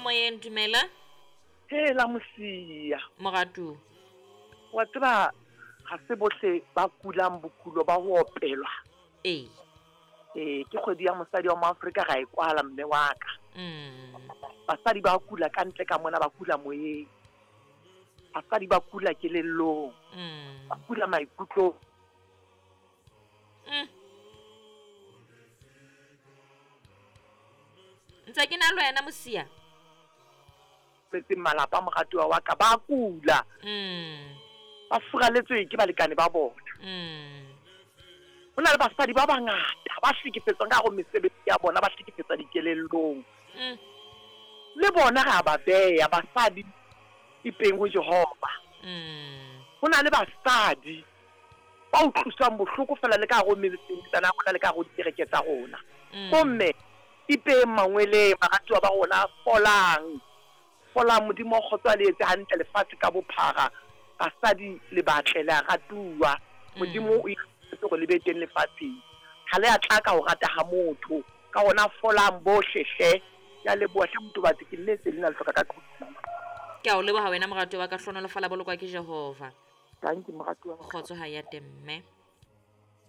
moyeng dumela. Hela Mosia. Moratuwa. Wa tseba ga se bohle ba kulang bokulo ba go opelwa. Ee. Ee, ke kgwedi ya mosadi wa Moafrika ga e kwala mme wa ka. Basadi ba kula ka ntle ka mona ba kula moyeng. Basadi ba kula kelellong. Ba kula maikutlong. Ntse ke na le wena Mosia. Setseng malapa moratuwa wa ka ba kula. Ba furaletswe ke balekane ba bona. Ho na le basadi ba bangata ba hlekefetswang ka hare ho mesebetsi ya bona, ba hlekefetswa dikelellong. Le bona re a ba beya basadi ipeng ho Jehova. Ho na le basadi ba utlwiswang bohloko feela le ka hare ho metsana ya rona le ka hare ho dikereke tsa rona. Bomme ipeng mangweleng baratuwa ba rona, folang. Folang, Modimo wa kgotso a le etse hantle lefatshe ka bophara. Basadi le batle, le a ratuwa. Modimo o ikgethetse hore le be teng lefatsheng. Ha le a tla ka ho rata ha motho. Ka hona folang bohle hle. Ke a leboha hle Motobatsi, ke nnetse lena le hloka ka tlung. Ke a o leboha wena moratuwa wa ka, hlohonolofala bolokwa ke Jehova. Dankie moratuwa wa ka. Kgotso ha ya teng mme.